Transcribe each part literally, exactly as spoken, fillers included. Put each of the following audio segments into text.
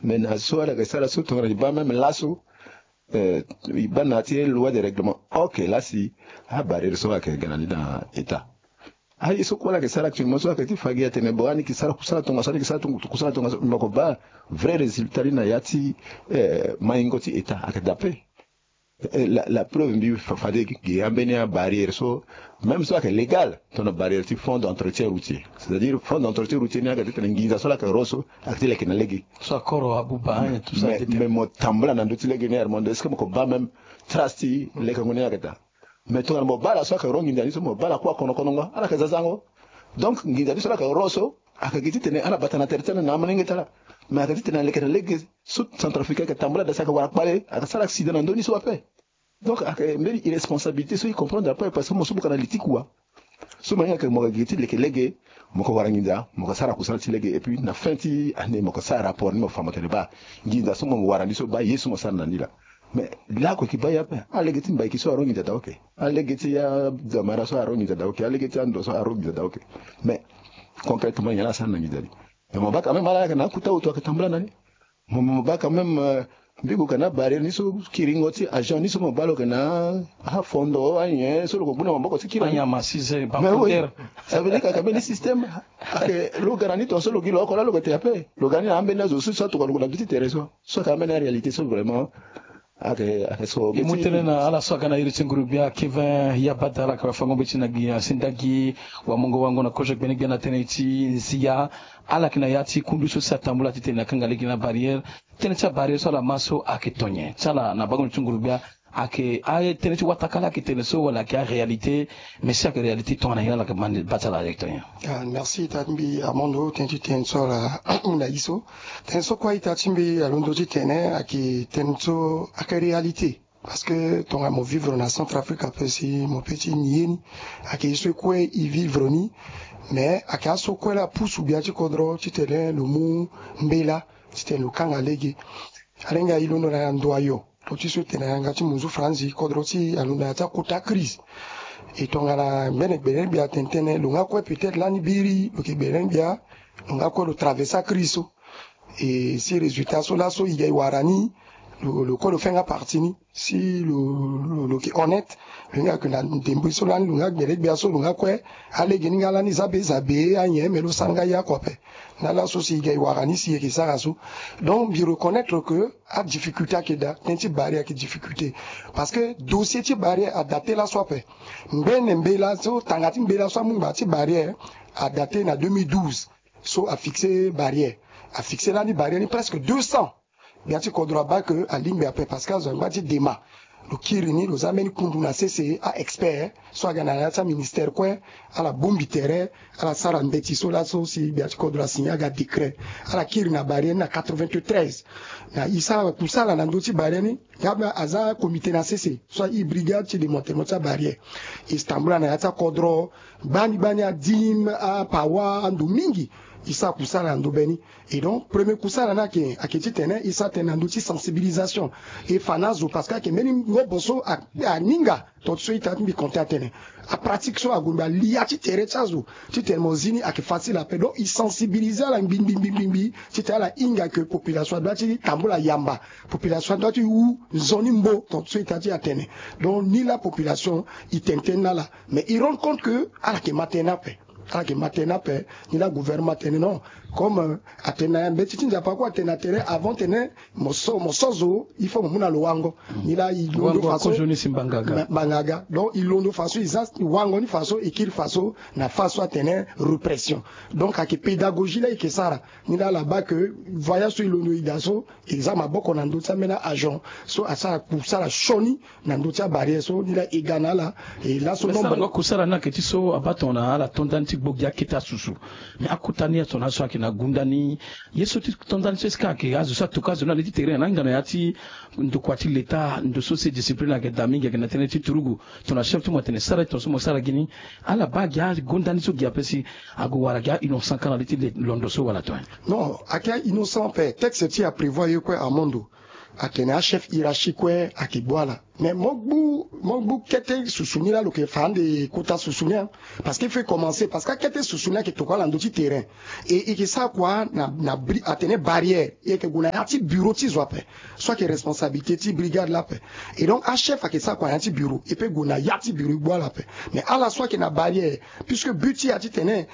Mais na so ala yeke sara so tongana e baa même laso, eh, e baa na ya ti loi de règlement, ok, la si abarrière so ayeke ga na ni na état. Aye so kue ala yeke sara actuellement so ayeke ti fa gi atene bon, ani yeke sara kusala tongaso, ani yeke sara tongaso, kusala tongaso, mo yeke baa vrai résultat ni na ya ti, eh, maingo ti état ayeke daa ape. Eh, la, la preuve mbi fa, fade gi ambeni abarrière so, même so ayeke légal, tongana barrière ti fonds d'entretien routier. C'est-à-dire fonds d'entretien routier ni ayeke ti tene nginza so ala yeke ro so ayeke ti leke na lege. So akoro abuba, hein, tout ça, mais, mais mo tambula na ndö ti lege ni, Armando, est-ce que mo yeke baa même trace ti lekengo ni ayeke daa? Mais tongana mo baa ala so ayeke ro nginza ni so, mo baa ala kue akonokonongo, ala yeke zazango. Donc nginza ni so ala yeke ro so, ayeke gi ti tene ala bata na tere ti ala na amalenge ti ala. Mais ayeke ti tene aleke na lege so Centrafricain ayeke tambula daa si ayeke wara kpale, ayeke sara accident na ndö ni so ape. Donc ayeke mbeni irresponsabilité so e comprendre ape, parce que mo so mo yeke na li ti kua. So mo hinga ke mo yeke gi ti leke lege, mo yeke wara nginza, mo yeke sara kusala ti lege, et puis na fin ti année mo yeke sara rapport ni, mo fa mo tene baa nginza so mo wara ni so, baa ye so mo sara na ni laa. Mais laoko e yeke baa ye ape. Alege ti mbaiki so aro nginza daa, ok. Alege ti adamara so aro nginza daa, ok. Alege ti ando so aro nginza daa, ok. Mais concrètement nyen la asara na nginza ni? Mais mo baa quand même ala ayeke na akuta hoto ayeke tambula na ni. Mo, mo baa quand même, euh, mbi gue ka na barrière ni so, kiringo ti agent ni so mo baa lo yeke na afondo, anyen so lo yeke gbu na maboko ti kiri. Anyama size. Mais oui, bakoder. Ça veut dire que ayeke mbeni système. Ayeke lo ga na ni tongaso lo gi lo oko laa lo yeke te ape. Lo ga ni na ambeni azo so, so atokua lo gue na ndö ti tere so. So ayeke ambeni aréalité so vraiment. Ayeke, ayeke so. E mu tënë na ala so aga na iri ti nguru gbia Kevin Yabada, ala yeke wara fango mbeti na gi asendagi wamungo wango na kozo gbene gbia na tënë ti nzia. Ala yeke na ya ti kundu so si atambula titene akanga lege na barrière. Tënë ti abarrière so ala ma so ayeke to nyen? Ti ala na bango na ti nguru gbia ayeke aye tënë ti wataka la ayeke tene so wala ayeke aréalité? Mais si ayeke réalité tongana nyen, ala yeke ma ni baa ti ala ayeke to nyen? Ah, merci ita ti mbi Armando, tënë ti tënë so ala mu na ye so. Tënë so kue ita ti mbi alondo titene ayeke tënë so ayeke réalité. Parce que tongana mo vivre na Centrafrique ape si mo peut ti ni ye ni, ayeke ye so e kue e vivre ni. Mais ayeke aso kue la apusu gbia ti kodro titene lo mu mbela titene lo kanga lege. Ala hinga e londo na ndo ayo, lo ti so e tene na yanga ti munzu franzi, kodro ti e alondo na ya ti akota crise. E tongana mbeni gbele gbia atene tënë, lo nga kue peut-être lani biri lo yeke gbele gbia, lo nga kue lo traverser acrise so. E si résultat so laso e ga e wara ni, lo, lo kue lo fait nga partie ni. Si lo, lo, lo yeke honnête, lo hinga ke na ndembe so lani lo nga gbele gbia so lo nga kue, alege ni nga lani za be za be anyen, me lo sara nga ye oko ape. Na laso si e ga e wara ni si e yeke sara so. Donc mbi reconnaître que adifficulté ayeke daa, tënë ti barrière ayeke difficulté. Parce que dossier ti barrière adate laso ape. Mbene mbela so, tanga ti mbela so amu ngba ti barrière adate na deux mille douze. So afixé barrière. Afixé lani barrière ni presque deux cents. Gbia ti kodro abaa ke alingbi ape parce que azo angba ti dema. Lo kiri ni, lo za mbeni kundu na sese, a-expert so aga na ya ti aministère kue, ala bongbi tere, ala sara mbeti so laso si gbia ti kodro asigné aga décret. Ala kiri na barrière ni na quatre-vingt-treize. Na e sara kusala na ndö ti barrière ni, nga aza comité na sese so airi brigade ti démantèlement ti abarrière. E tambula na ya ti akodro, gbani gbani adim, apawa, ando mingi. E sara kusala na ndo be ni. Et donc premier kusala ni ayeke, ayeke titene e sara tënë na ndö ti sensibilisation. E fa na azo parce que ayeke mbeni ngobo so a, aninga. Tonga ti so ita ti mbi compter atene apratique so ague mbi alia ti tere ti azo titene mo zi ni ayeke facile ape. Donc e sensibiliser ala ngbi ngbi ngbi ngbi ngbi titene ala hinga ke population adoit ti tambula yamba. Population adoit ti hu nzoni mbo. Tonga ti so ita ti atene. Donc ni la population e tene tënë na ala. Mais e rendre compte ke ala yeke ma tënë ape. Ala yeke ma tënë ape. Ni la gouvernement atene non. Comme, euh, atene na ya mbeti ti nzapa kue atene na tere avant tene mo so, mo so zo, il faut mo mu na lo wango. Ni la e londo faso. Wango kozo ni si mbanga aga. Mbanga aga. Donc e londo faso, e za wango ni faso, e kiri faso na faso atene répression. Donc ayeke pédagogie la e yeke sara. Ni la ala baa ke voyage so e londo e daa so, e za maboko na ndö ti ambeni agent so asara kusala sioni na ndö ti abarrière so, ni la e ga na ala. E laso nombre. Kusala ni ayeke ti so abaa tongana ala to ndani ti gbo gi akete asusu. Mais akota ni azo na so ayeke na gunda ni, ye so ti to ndani so est-ce que ayeke azo so atoka azo ni na li ti tere na hinga na ya ti ndokua ti leta, ndo so si discipline ayeke daa mingi, ayeke na tënë ti turugu. Tongana chef ti mo atene sara tongaso mo sara gi ni, ala baa gi agonda ni so gi ape si ague wara gi a-innocent ka na li ti londo so wala to nyen? Non, ayeke a-innocent ape. Texte ti e aprévoir ye kue, Armando. atene achef hiérarchique kue ayeke gbu ala. Mais mo gbu mo gbu kete susu ni laa lo yeke fa ande kota susu ni, hein. Parce que il faut commencer, parce que akete susu ni ayeke tokua ala na ndö ti terrain. E e yeke sara kua na na bri- atene barrière, e yeke gue na ya ti bureau ti zo ape. So ayeke responsabilité ti brigade laa ape. Et donc achef ayeke sara kua na ya ti bureau, e peut gue na ya ti bureau e gbu ala ape. Mais ala so ayeke na barrière, puisque but ti e ya titene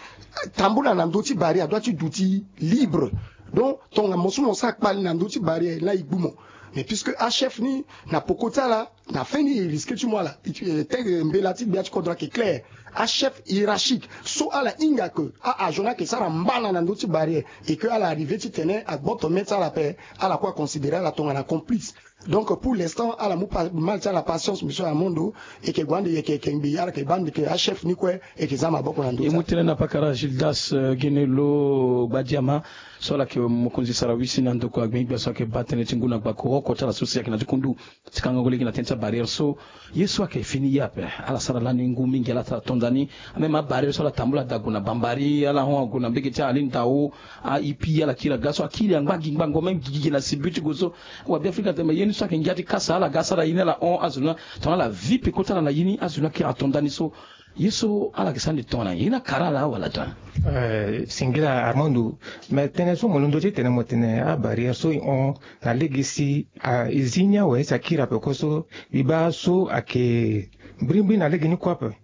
tambula na ndö ti barrière adoit ti duti libre. Donc tongana mo so mo sara kpali na ndö ti barrière laa e gbu mo. Mais puisque achef ni, na poko ti ala, na fin ni e risque ti mu ala. Te mbela ti gbia ti kodro ayeke clair. Achef hiérarchique so ala hinga ke a-agent ni ayeke sara mbana na ndö ti barrière, et que ala arrivé titene agboto mê ti ala ape, ala kue aconsidéré ala tongana complice. Donc pour l'instant ala mu pa- mal ti ala patience, monsieur Armando. E yeke gue ande e yeke yeke ngbii, ala yeke baa ande ke achef ni kue e yeke za maboko na ndö ti ala. E mu tënë na pakara Gildas, euh, Gene Lo Gbadiama, so ala yeke mokonzi sara wisi na ndokua gbengbe gbia so ayeke baa tënë ti ngu na gbako oko ti ala so si ayeke na ti kundu ti kangango lege na tënë ti abarrière so. Ye so ayeke fini ye ape, ala sara lani ngu mingi, ala sara tonda ni. Ameme abarrière so ala tambula daa gue na Bambari, ala hon ague na mbege ti Aline Dao, a-ipi ala kiri aga so akiri angba gi ngbango même gigi na sibu ti gue so. Wa Beafrika atene me ye ni so ayeke ngia ti kasa ala ga asara ye ni, ala hon azo ni tongana ala vi peko ti ala na ye ni, azo ni akiri atonda ni so. Ye so ala yeke sara ni tongana ye ni akara ala wala tongana? Eh, singila Armando, me tënë so mo londo ti tene mo tene abarrière so e hon na lege si a- e zi ni awe si akiri ape kue so, mbi baa so ayeke mbirimbiri na lege ni kue ape.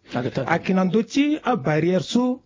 Ayeke na ndö ti abarrière so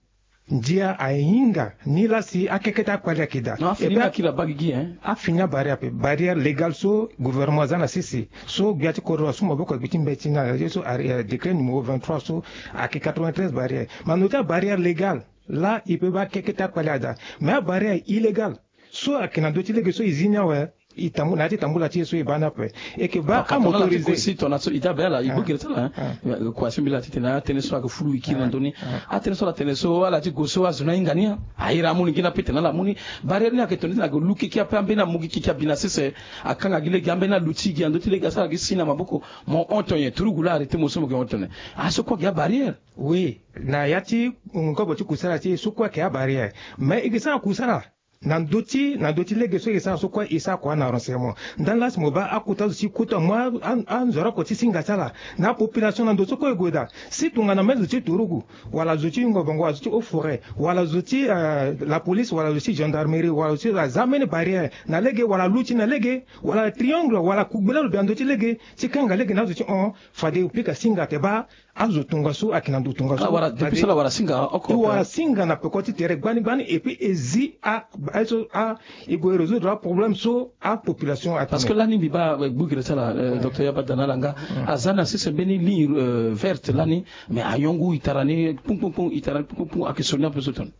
ndia ahinga ni laa si akeke ti akpali ayeke daa. Non, afini ni akiri abaa gigi, hein. Afini abarrière ape, barrière légale so gouvernement aza na sese, so gbia ti kodro asu maboko agbi ti mbeti na ye so, eh, décret numéro vingt-trois so ayeke quatre-vingt-treize barrière. Mais na ndö ti abarrière légale laa e peut baa keke ti akpali adaa. Mais abarrière illégale so ayeke na ndö ti lege so e zi ni awe, e tambula na ya ti tambula ti e so e baa ni ape. E yeke baa amotorisé si tongana so e daa be ala e gbu gere ti ala, hein. Kua so mbi laa titene atënë so ayeke fulu e kiri na ndö ni. Atënë so ala tene so ala ti gue so azo ni ahinga ni, airi amu ni ngia ni ape tene ala mu ni. Barrière ni ayeke tongana titene ayeke lu keke ape, ambeni amu gi keke abi na sese. Akanga gi lege, ambeni aluti gi na ndö ti lege, asara gi si na maboko. Mo hon tongana nyen? Turugu laa arrêté mo so mo yeke hon tongana nyen? Aso kue ayeke abarrière. Oui, na ya ti ngobo ti kusala ti e so kue ayeke abarrière. Mais e yeke sara kusala na ndö ti na ndö ti lege so e sara so kue e sara kua na renseignement. Ndani laa si mo baa akota zo ti kota mo a- a- anzoro oko ti singa ti ala na apopulation na ndo so kue e gue daa. Si tongana même zo ti turugu, wala zo ti ngongongo, wala zo ti haut foret, wala zo ti, eh, la police, wala zo ti gendarmerie, wala zo ti aza ambeni barrière na lege, wala luti na lege, wala triangle, wala kugbela lo bi na ndo ti lege ti kanga lege na azo ti hon, fade e pika singa te baa azo tongaso ayeke na ndo tongaso. Ah, wara, depuis so ala wara singa oko, e wara singa na peko ti tere gbani gbani, et puis e zi a- aye so a- e gue résoudre aproblème so apopulation atene. Parce que lani mbi baa, eh, gbu gere ti ala, eh, docteur Yaba Dana Langa, aza na sese mbeni ligne, eh, verte lani, mais ayon ngu e tara ni kpungkpungkpung, e tara ni kpungkpungkpung, ayeke so ni ape so tongana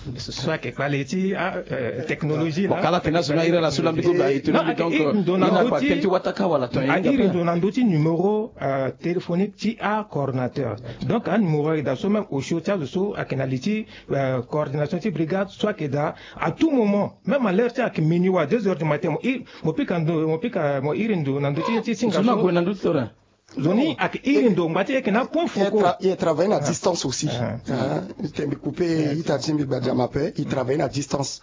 nyen? So ayeke kpale ti a- eh, technologie. Bon, kala tena zo ni airi ala so lambiko mbi aye tene mbi, donc, eh, iri ndo na ndö ti, tënë ti wataka wala tongana nyen? Airi ndo na ndö ti numéro, eh, téléphonique ti acoordinateur. Donc anuméro ayeke daa so même osio ti azo so ayeke na li ti, eh, coordination ti brigade so ayeke daa à tout moment, même à l'heure ti ayeke minuit wala deux heures du matin, mo iri, mo pika ndo, mo pika, mo iri ndo na ndö ti, ti singa so. Zo ni ague na ndö ti tore. Zo ni ayeke iri ndo ngba ti e yeke na point focaux. E tra- e travaille na distance aussi. Ah. Hein, tene mbi coupe ita ti mbi Gbadiama ape, e travaille na distance.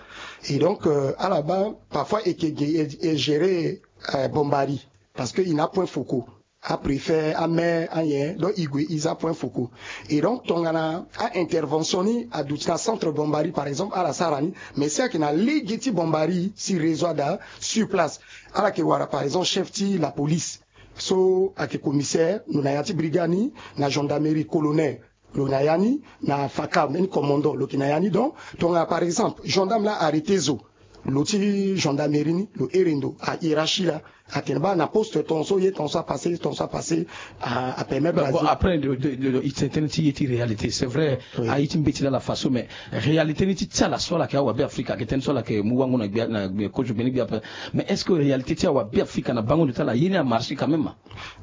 Et donc, euh, ala baa parfois e yeke ge- e- e gérer, euh, Bombari, parce que e na point focaux. Apréfet, amaire, anyen, donc e gue e za point focaux. Et donc tongana a-intervention ni aduti na centre Bombari par exemple, ala sara ni. Mais si ayeke na lege ti Bombari, si réseau ada sur place, ala yeke wara par exemple chef ti la police, so ayeke commissaire, lo na ya ti brigade ni, na gendarmerie, colonel, lo na ya ni, na faka, mbeni commandant, lo yeke na ya ni. Donc tongana par exemple gendarme laa arrêté zo, lo ti gendarmerie ni, lo iri ndo a hiérarchie laa, atene baa na poste tongaso ye tongaso apassé, ye tongaso apassé, a- apermettre. Bon, après, de- de- de- de- e tene tënë ti ye ti réalité, c'est vrai. Oui. Aye ti mbeti laa ala fa so, mais réalité ni ti ti ala so ala yeke awabe afrika, ayeke tënë so ala yeke mu wango na gbia, na gbia kozo gbeni gbia ape. Mais est-ce que réalité ti awabe afrika na bango ndo ti ala ye ni amarché quand même?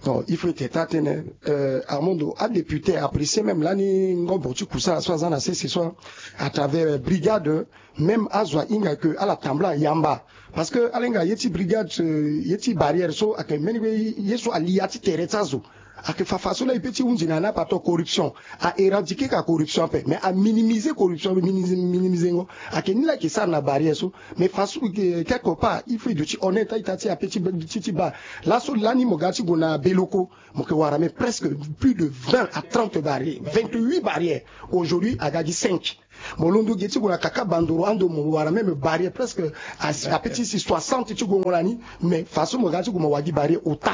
Non, il faut ete taa tënë, euh, Armando, adéputé apprécié même lani ngobo ti kusala so aza na sese so, à travers, euh, brigade, même azo ahinga ke ala tambula yamba. Parce que ala hinga ye ti brigade, euh, ye ti barrière so ayeke mbeni ye so ali ya ti tere ti azo. Ayeke fa faso laa e peut ti hunzi na ni ape ato corruption. A éradiquer ka corruption ape, mais a minimiser corruption, minimiser, minimiser ngo. Ayeke ni laa ayeke sara na barrière so. Mais faso, quelque part il faut e duti honnête a-ita ti ape ti, ti, ti baa. Laso lani mo ga ti gue na Beloko, mo yeke wara même presque plus de vingt à trente barrières, vingt-huit barrières. Aujourd'hui aga gi cinq. Mo londo ge ti gue na Kaka Bandoro ando mo wara même barrière presque a, a peut ti si soixante ti gongo na ni. Mais façon mo ga ti gue mo wara gi barrière ota.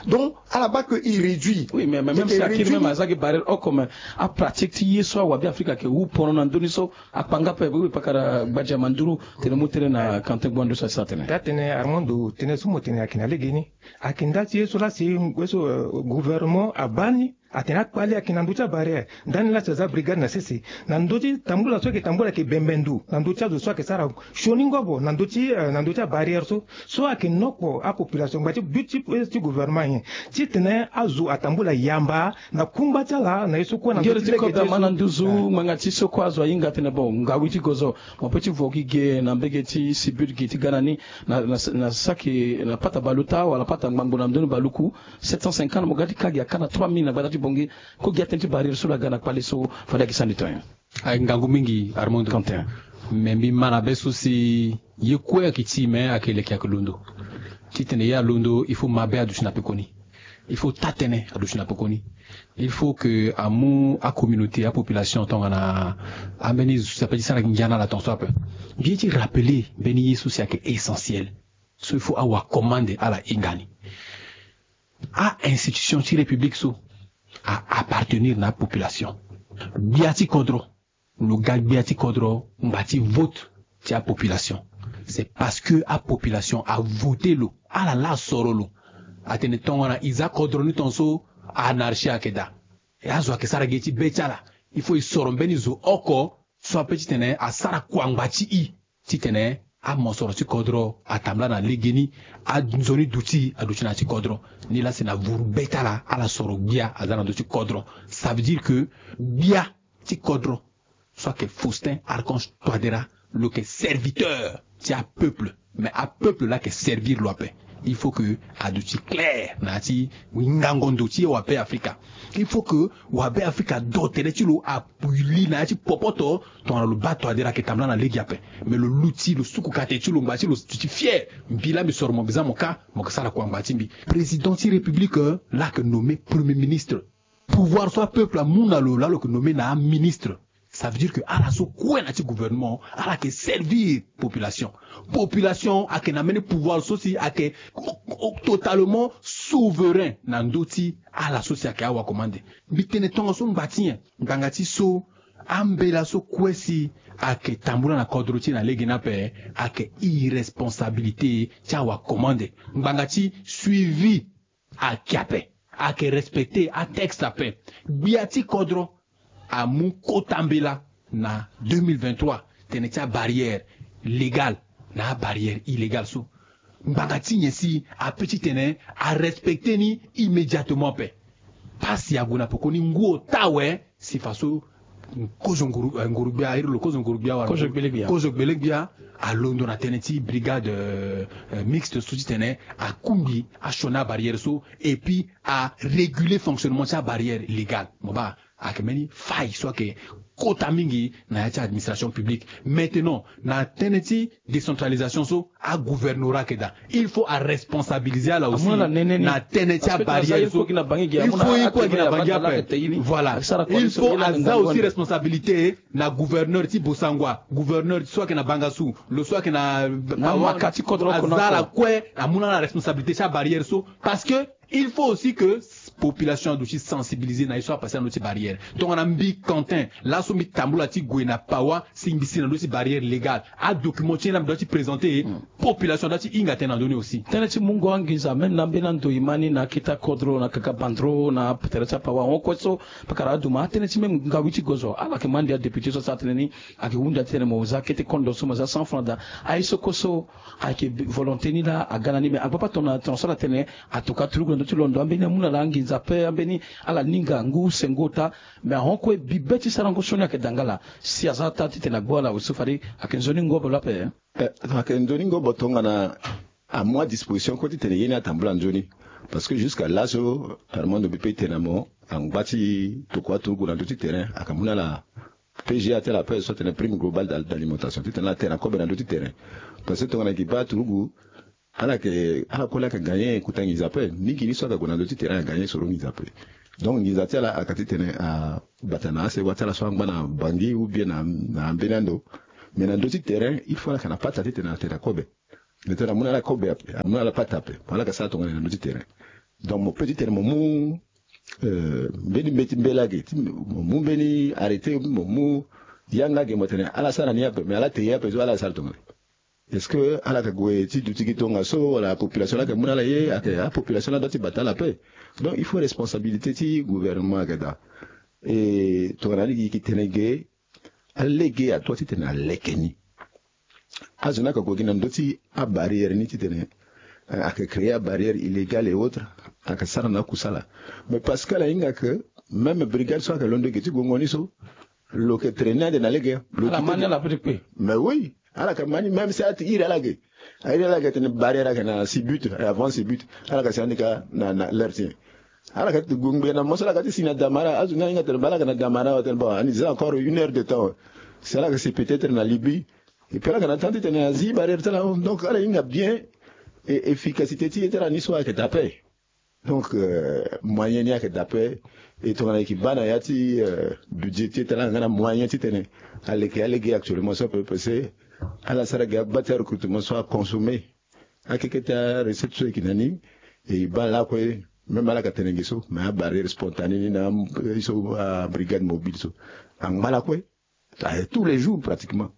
Donc ala baa que il réduit. Oui, mais, mais même si akiri même aza gi barrière oko, mais apratique ti ye so awabe Afrika ayeke wu pono na ndö ni so akpanga ape. Oui, pakara Gbadiama Nduru, tene mu tënë na Quentin Gbua ndo so asi atene. Taa tene Armando, tene so mo tene ayeke na legeni. Ayeke nda ti ye so laa si ye so, euh, gouvernement abaa ni. Atene akpali ayeke na ndö ti abarrière. Ndani laa si aza brigade na sese na ndö ti tambula so ayeke tambula ayeke bembe ndo na ndö ti azo so ayeke sara sioni ngobo na ndö ti, euh, na ndö ti abarrière so. So ayeke nokpo apopulation ngba ti but ti, ti gouvernement nyen? Titene azo atambula yamba na kungba ti ala na ye so kue na ndö ti lege ti ye so. Ngere ti kodama na nduzu, ah, ngbanga ti so kue azo ahinga atene bon, ngawi ti gozo, mo peut ti vo gi ge na mbege ti si but ge ti ga na ni, na, na, na saki, na pata baluta wala pata ngbangbo na ndoni baluku. Sept cent cinquante, mo ga ti ka gi aka na trois mille na gbata ti Bangui. Ko gi atene ti barrière so lo aga na kpale so, fade ayeke sani to nyen? Aye ngangu mingi, Armando. Quentin. Me mbi ma na be so si ye kue ayeke ti me ayeke leke ayeke londo. Titene ye alondo, il faut mabe aduti na pekoni. Il faut taa tënë aduti na pekoni. Il faut que amu acommunauté, apopulation tongana ambeni zo si ape ti sara ngia na ala tongaso ape. Mbi ye ti rappeler mbeni ye so si ayeke essentiel. So il faut awakomande ala hinga ni. A-institution ti République so a-appartenir na apopulation. Gbia ti kodro, lo ga gbia ti kodro ngba ti vote ti apopulation. C'est parce que apopulation avote lo, ala laa asoro lo. Atene tongana e za kodro ni tongaso, anarchie ayeke daa. E azo ayeke sara ge ti be ti ala. Il faut e soro mbeni zo oko so ape titene asara kua ngba ti e. Titene amosoro ti kodro atambula na legeni, anzoni duti aduti na ya ti kodro. Nilaa si na vuru be ti ala, ala soro gbia aza na ndö ti kodro. Ça veut dire que gbia ti kodro so ayeke Faustin Archange Touadéra, lo yeke serviteur ti apeuple. Mais apeuple laa ayeke servir lo ape. Il faut que aduti clair na ya ti ngango ndo ti wabe Afrika. Il faut que wabe Afrika do tere ti lo a li na ya ti popoto. Tongana lo baa Touadéra ayeke tambula na lege ape, me lo luti, lo suku kate ti lo ngba ti lo, ti fier. Mbi laa mbi soro mo, mbi za mo ka, mo yeke sara kua ngba ti mbi. Président ti République, euh, laa ayeke nommé Premier Ministre. Pouvoir so apeuple amu na lo laa lo yeke nommé na aministre. Ça veut dire que ala so kue na ya ti gouvernement, ala yeke servir population. Population ayeke na mbeni pouvoir so si ayeke o-, o-, totalement souverain na ndö ti ala so si ayeke awakomande. Mbi tene tongaso ngba ti nyen? Ngbanga ti so, ambela so kue si ayeke tambula na kodro ti e na lege ni ape, ayeke irresponsabilité ti awakomande. Ngbanga ti suivi ayeke ape, ayeke respecter atexte ape. Gbia ti kodro amu kota mbela na deux mille vingt-trois, tënë ti abarrière légale na abarrière illégale so. Ngbanga ti nyen si ape titene arespecter ni immédiatement ape? Pasi ague na pekoni, ngu ota awe si faso kozo nguru, eh, nguru-gbia, iri lo kozo nguru-gbia wala kozo gbele-gbia. Kozo gbele-gbia alondo na tënë ti brigade, euh, euh, mixte so titene akungbi asioni abarrière so, et puis aréguler fonctionnement ti abarrière légale. Mo baa, ayeke mbeni faille so ayeke kota mingi na ya ti administration publique. Maintenant, na tënë ti décentralisation so, agouvernorat ayeke daa. Il faut aresponsabiliser ala aussi na tënë ti abarrière so. Il faut ye kue ayeke na Bangui ape. Voilà. Il faut aza aussi responsabilité na gouverneur ti Bossangoa, gouverneur so ayeke na Bangassou, lo so ayeke na Pawa, aza ala kue, amu na ala responsabilité ti abarrière so. Parce que il faut aussi que population aduti sensibiliser na ye so apase na ndö ti barrière. Tongana mbi Quentin, laso mbi tambula ti gue na Pawa, si mbi si na ndö ti barrière légale, adocument ti ye laa mbi doit ti présenter, population doit ti hinga tënë na ndö ni aussi. Tënë ti mungo anginza, même na mbeni ando e ma ni na akete kodro, na kaka bandro, na tere ti apawa, ahon kue so, pakara aduma, atënë ti même ngawi ti gozo, ala yeke ma ande adéputé so asara tënë ni, ayeke hunda titene mo za akete kondo so, mo za cent francs daa. Aye so kue so, ayeke volonté ni laa aga na ni, me angba patona tongana so ala tene, atoka turugu na ndö ti londo, ambeni amu na ala anginza ape, ambeni ala ninga ngu use ngu ota, me ahon kue bibe ti sarango sioni ayeke daa nga laa. Si aza ata titene agbu ala aussi fade ayeke nzoni ngobo lo ape. Eh, ayeke nzoni ngobo tongana amu adisposition kue titene ye ni atambula nzoni. Parce que jusqu'à laso Armando mbi pe tene na mo, angba ti tokua turugu na ndö ti terrain aka mu na ala. P G A ti ala ape so atene prime globale d'alimentation titene ala tene na kobe na ndö ti terrain. Parce que tongana gi baa turugu, ala yeke ala kue laa aka gagner kota nginza ape. Mingi ni so aka gue na ndö ti terrain aka gagner soro nginza ape. Donc nginza ti ala aka titene abata na asewa ti ala so angba na bangi ou bien na ambeni ando. Mais na ndö ti terrain il faut ala yeke na pata titene ala tene na kobe. Ndetene amu na ala kobe ape, amu na ala pata ape, ala yeke sara tongana na ndö ti terrain. Donc mo pe titene mo mu mbeni mbeti mbela ge ti mo mu mbeni arrêté, mo mu yanga ge mo tene ala sara ni ape mais ala te ye ape so ala sara tongana? Est-ce que ala yeke gue ti duti gi tongaso wala apopulation laa yeke mu na ala ye? Ayeke apopulation laa doit ti bata ala ape. Donc il faut responsabilité ti gouvernement ayeke daa. E tongana alingbi gi tene ge, alege adoit titene aleke ni. Azo ni aka gue gi na ndö ti abarrière ni titene ayeke créer abarrière illégale et autres, ayeke sara na akusala. Mais parce que ala hinga ke même brigade so ayeke londo ge ti guengo ni so lo yeke trainer ande na lege. Lo ala ma ni ala pe ti kpe. Mais oui, ala yeke ma ni même si ala ti iri ala ge, airi ala ge atene barrière ayeke na sibut, avant sibut ala yeke si ande ka na l'heure ti nyen? Ala ka ti gungbe na mo so ala ka ti si na damara. Azo ni ahinga tene baa ala ka na damara, atene bon ani za encore une heure de temps. Si ala ka si peut-être na Libye. Et puis ala ka na temps titene azi barrière ti ala. Donc ala hinga bien. Et efficacité ti ye ti ala ni so ayeke daa ape. Donc moyen ni ayeke daa ape. Et tongana e yeke baa na ya ti budget ti e ti ala nga na moyen titene aleke alege actuellement so ape parce que ala sara ge agba ti arecrutement so aconsommer akeke ti arecette so e yeke na ni. E baa lakue même ala ka tene nge so mais abarrière spontanée ni na ye so abrigade mobile so angba lakue. Tous les jours pratiquement.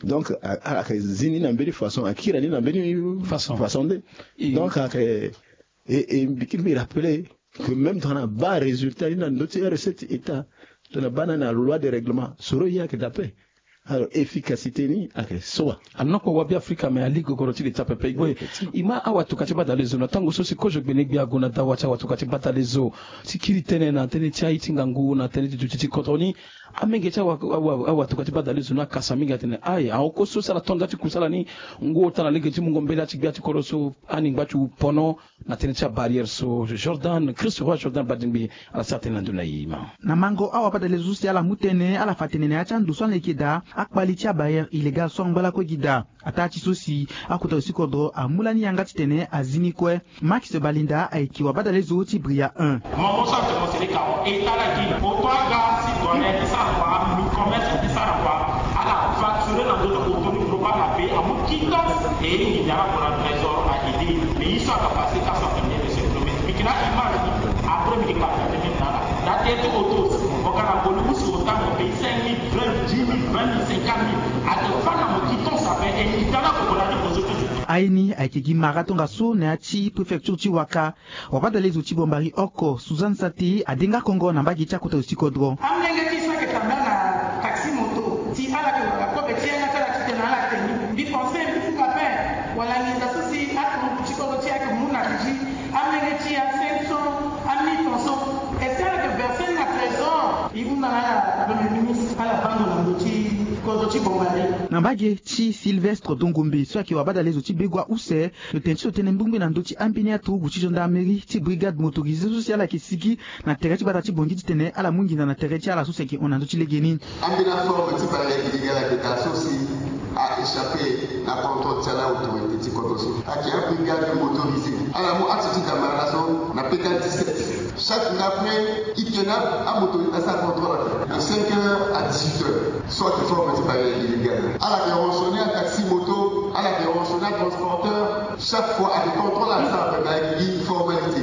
Donc ala ka zi ni na mbeni façon, akira ni na mbeni façon nde. Donc ala ka e mbi kiri mbi rappeler que même tongana baa résultat ni na ndö ti arecette ti état, tongana baa na na loi de règlement soro ye ayeke daa ape. Alors efficacité ni ayeke so wa? Anoko wa bi afrika mais ali gogoro ti li ti apepe e gue. E ma awatuka ti badalezo na tango so si kozo gbene gbia ague na dawa ti awatuka ti badalezo ti kiri tënë na tënë ti aye ti ngangu na tënë ti duti ti kodro ni. Amenge ti awatuka ti badalezo ni akasa mingi atene aye ahon kue so si ala to nda ti kusala ni. Ngu ota na lege ti mungo mbela ti gbia ti kodro so ani ngba ti wu pono na tënë ti abarrière so. Jordan Christ roi Jordan Badingbi ala sara tënë na ndö na e ma. Na mango awabadalezo so si ala mu tënë ala fa tene na ya ti ando so ala yeke daa akpali ti abarrière illégale so angba lakue gi daa. Ataa ti so si akota zo ti kodro amu lani yanga titene azi ni kue. Max Balinda ayeke wabadalezo ti Bria un. Mango so ake mo sere ka mo e tara gi oto aga si gone ti sara kua mi commerce ti sara kua. Ala facture na ndö na oto ni global na pe amu kita. E nginza ala gue na trésor a aide. Mais ye so aka passe ka so ake mie de se promesse mbi yeke na image ni. Après mbi yeke kapa tene na ala na te ti oto. Mo ga na boli usu ota mo paye cinq mille, vingt, dix mille, vingt mille, cinquante mille. Ake fa na mo quittance ape e nginza ala gue na ni kozo ti. Aye ni ayeke gi mara tongaso na ya ti préfecture ti Waka. Wabadalezo ti Bombari oko Suzanne Sate adenga kongo na mbage ti akota zo ti kodro. Amolenge ti so ayeke tambula na taxi moto si ala yeke wara kobe ti yanga ti ala titene ala te ni. Mbi pense mbi fungo ape wala nginza so si atongo ti kodro ti e ayeke mu na ti gi amolenge ti e a cinq cents a mille francs so. Est-ce que ala yeke verse ni na trésor? E hunda na ala Premier ministre ala vando na ndö ti kodro ti Bombari. Na mbage ti Sylvestre Dongombe so ayeke wabadalezo ti Begua use. Lo tene ti lo tene mbongbi na ndö ti ambeni aturugu ti gendarmerie ti brigade motorisée so si ala yeke sigi na tere ti gbata ti Bangui titene ala mu nginza na tere ti ala so si ayeke hon na ndö ti legeni. Ambeni aforme ti barrière illégale ayeke daa so si a échappé na contrôle ti ala autorité ti kodro so. Ayeke abrigade motorisée ala mu axe ti damara laso na P K dix-sept. Chaque nga après i tene amoto ni na sara contrôle ape de cinq heures à dix-huit heures. So ayeke forme ti barrière illégale ala yeke rançonner ataxi moto, ala yeke rançonner atransporteur. Chaque fois ayeke contrôle ala sara ape mais ayeke gi formalité.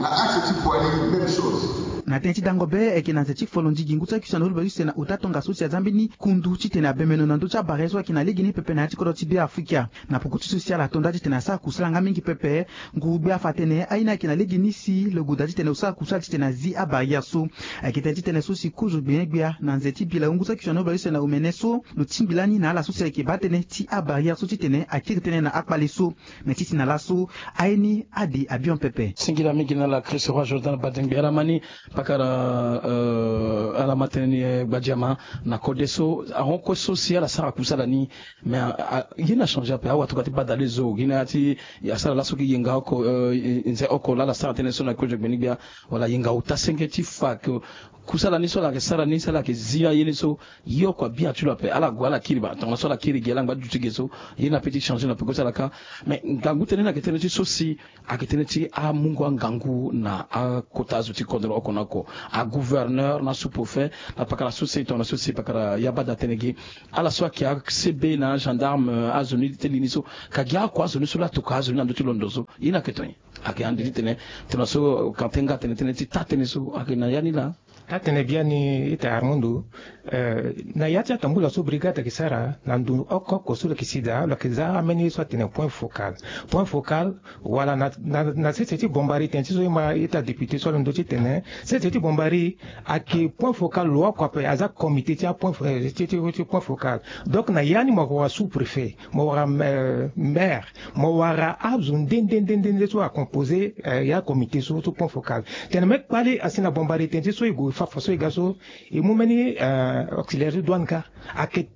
Na axe ti Boali même chose. Na tënë ti dango be ayeke na nze ti folo ndigi ngu ti akui ti ande holi bale use na ota tongaso si aza mbeni kundu titene abemeno na ndö ti abarrière so ayeke na legeni pepe na ya ti kodro ti Beafrika. Na poko ti so si ala to nda titene asara kusala nga mingi pepe. Nguru-gbia afa atene aye ni ayeke na lege ni si lo goda titene lo sara kusala titene azi abarrière so. Ayeke tene titene so si kozo gbene gbia na nze ti bi laungu so akiri na ni bale use na omene so lo tingbi lani na ala so si ayeke baa tënë ti abarrière so titene akiri tënë na akpale so. Me ti si na laso aye ni ade abion pepe. Singila mingi na ala Christ roi Jordan Badingbi ala ma ni. Pakara, euh, ala ma tënë ni, eh, gbadiama na kode so ahon kue so si ala sara kusala ni. Mais, ah, ah, ye ni achangé ape. Awa tongana ti badale zo gi na ya ti asara laso ki yenga oko, euh, nze oko laa ala sara tënë so na kozo gbeni gbia. Wala yenga ota senge ti fa ke kusala ni so ala yeke sara ni so ala yeke zi aye ni so. Ye oko abia ti lo ape. Ala gue ala kiri baa tongana so ala kiri gi ala ngba ti duti ge so. Ye ni ape ti changé na peko ti ala kâ. Mais ngangu tënë ni ayeke tënë ti so si ayeke tënë ti amungo angangu na akota azo ti kodro oko na oko, agouverneur na sous-préfet, na pakara so si tongana so si pakara ya bada atene gi ala so ayeke a-C B na agendarme, azo ni ti li ni so, ka gi oko azo ni so laa atokua azo ni na ndö ti londo so. Ye ni ayeke tongana nyen? Ayeke ande ti tene tongana so Kanté nga atene tënë ti taa tënë so ayeke na ya ni laa. Atene biani ita Armando, eh, na ya ti atambula so brigade ayeke sara na ndo oko oko so lo yeke si daa, lo yeke za ambeni ye so atene point focal. Point focal, wala na, na, na sese ti bombari tënë ti so e ma ita député so alondo ti tene sese ti bombari ayeke point focal lo oko ape, aza comité ti apoint fo-, eh, ti, ti, ti point focal. Donc na ya ni mo wara sous-préfet, mo wara, euh, maire, mo wara azo nde nde nde nde so acomposé, euh, ya comité so, so point focal. Tene me kpale asi na bombari tënë ti so e gue fa fa so e ga so, e mu mbeni, euh, auxiliaire ti douane kâ. Ayeke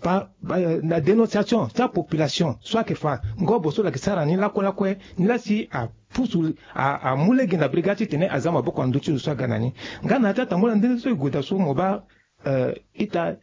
pa, pa, na dénonciation ti apopulation so ayeke fa ngobo so lo yeke sara ni lakue lakue, ni laa si apusu, a, amu lege na brigade ti tene aza maboko na ndö ti zo so aga na ni. Nga na ya ti atambula nde so e gue daa so mo baa, euh, ita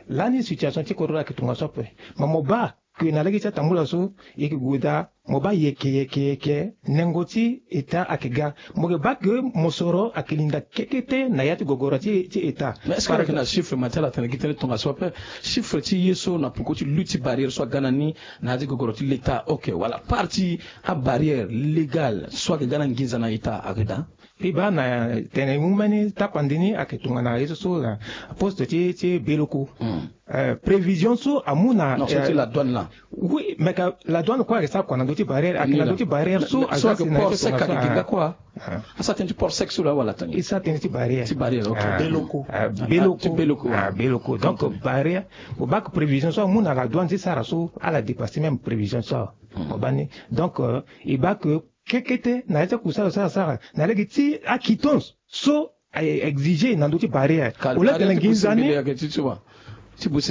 lani situation ti kodro ayeke tongaso ape. Ma mo baa ke na lege ti atambula so e yeke gue daa mo baa yeke yeke yeke nengo ti État ayeke ga. Mo yeke baa ke mosoro ayeke linda kekete na ya ti gogoro ti, ti État. Mais est-ce que ayeke na chiffre ma ti ala tene gi tënë tongaso ape? Chiffre ti ye so na poko ti lutte ti barrière so aga na ni na ya ti gogoro ti l'État, ok, wala part ti abarrière légale so ayeke ga na nginza na État ayeke daa? Mbi baa na tene e mu mbeni tapande ni ayeke tongana ye so so na poste ti, ti Beloko. Hmm. Euh, prévision so amu na, non, so ti, euh, la douane laa. Oui, mais ka la douane kue ayeke sara kua na ndö ti barrière, ayeke na ndö ti barrière so, mais so ayeke port sec ayeke gi nga kua. Ah. Asara tënë ti port sec so laa wala tongana nyen? E sara tënë ti barrière. Ti barrière, ok. Ah. Beloko. Ah, Beloko. Ah, ti Beloko, ah, ah. Beloko. Donc, ok, barrière, mo baa ke prévision so amu na la douane ti sara so, ala dépasser même prévision so. Hmm. Mo baa ni. Donc, euh, e baa ke kekete na ya ti akusala so asara na lege ti aquittance so a exige na ndö ti barrière. Au lieu tene nginza ni,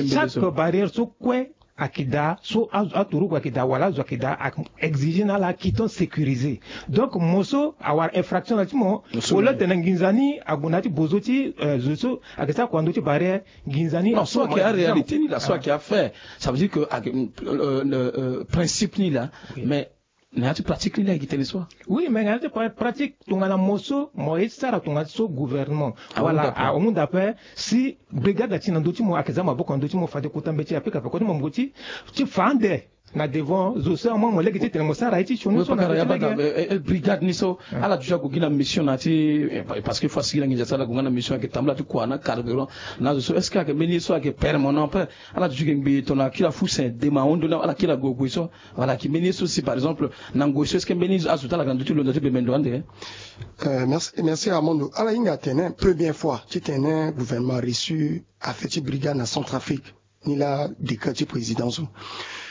chaque barrière so kue ayeke daa, so a, aturugu ayeke daa wala azo ayeke daa, a exige na ala quittance sécurisée. Donc mo so awara infraction na ti mo, au lieu tene nginza ni ague na ya ti bozo ti, euh, zo so ayeke sara kua na ndö ti barrière, nginza ni. Non, so ayeke aréalité ni laa, so ayeke affaire. Ça veut dire que ayeke, euh, euh, principe ni laa. Mais na ya ti pratique ni laa e gi tënë so. Oui, mais na ya ti pra-, pratique tongana mo so mo ye ti sara tongana so gouvernement. Wala ahunda ape si brigade ati na ndö ti mo ayeke za maboko na ndö ti mo fade kota mbeti ape ka fa kota mo mo ti, ti fa ande na devant zo so amu mo lege ti tene mo sara ye ti sioni so na ya bada, eh, eh, brigade ni so ala duti ague gi na mission na ti, eh, parce que fo asigi na nginza so ala gue nga na mission ayeke tambula ti kua na carburant na zo so, est-ce que ayeke mbeni ye so ayeke permanent ape? Ala duti ge ngbii tongana kiri afuse dema ahon ndo ni ala kiri ague gue so. Voilà, ayeke mbeni ye so si par exemple na ngoi so est-ce que mbeni azo ti ala ayeke na ndö ti lo na ndö ti bembe ndo ande? Euh, merci, merci Armando. Ala hinga atene première fois titene gouvernement a reçu affaire ti brigade na Centrafrique. Ni laa décret ti président so.